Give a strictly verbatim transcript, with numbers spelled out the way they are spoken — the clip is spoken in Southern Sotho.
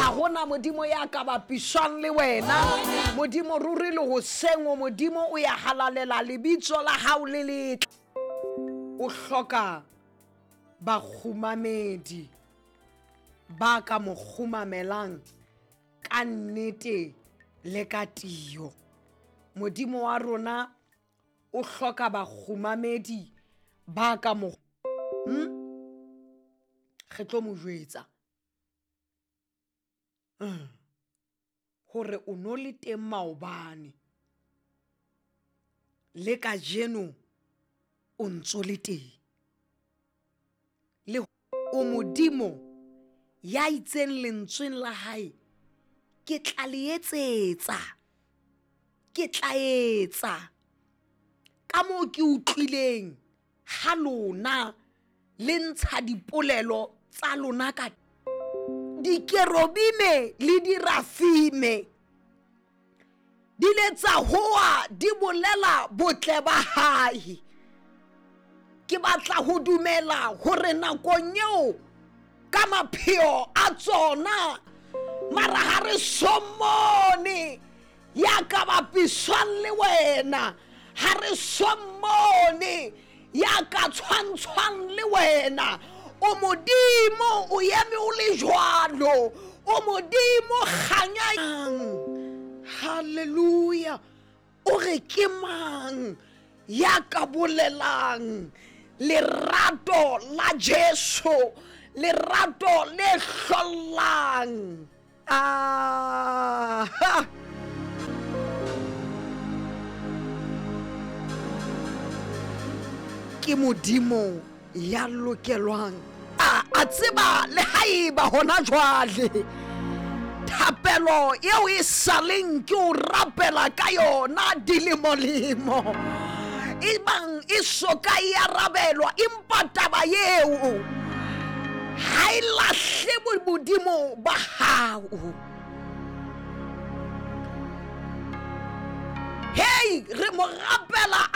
Ga gona modimo ya ka bapišwang le wena. Modimo ruri le goseng o modimo o ya halalela lebitso la gago le letle. O hloka bakgomamedi ba ka mo kgomamelang ka nnete le ka tio. Modimo wa rona o hloka bakgomamedi ba ka mo hm? Re tlo mo jwetsa mm. Gore o no le teng maobane le kajeno o ntso le teng. Le o modimo ya itseng lentsweng la hae ke tla le etsetsa, ke tla etsa ka moo ke utlwileng ha lona le ntsha dipolelo tsa lona ka dikerobime le dirafime di le tsa hoa di bolela botle ba hae. Ke batla ho dumela hore nakong eo ka mapheo a tsona mara ha re somone ya ka bapiswang le wena, ha re somone ya ka tshwantshwang le wena. O modimo o eme o le jwalo, o modimo kganyang. Hallelujah. O re ke mang ya ka bolelang lerato la Jesu, lerato le hlollang. Ah, ke modimo ya lokelwang a a tseba le haeba hona jwale thapelo eo e saleng ke o rapela ka yona dilemolemo e bang e soka e arabelwa, empa taba eo ha e lahle modimo ba hao. Hei, re mo rapela.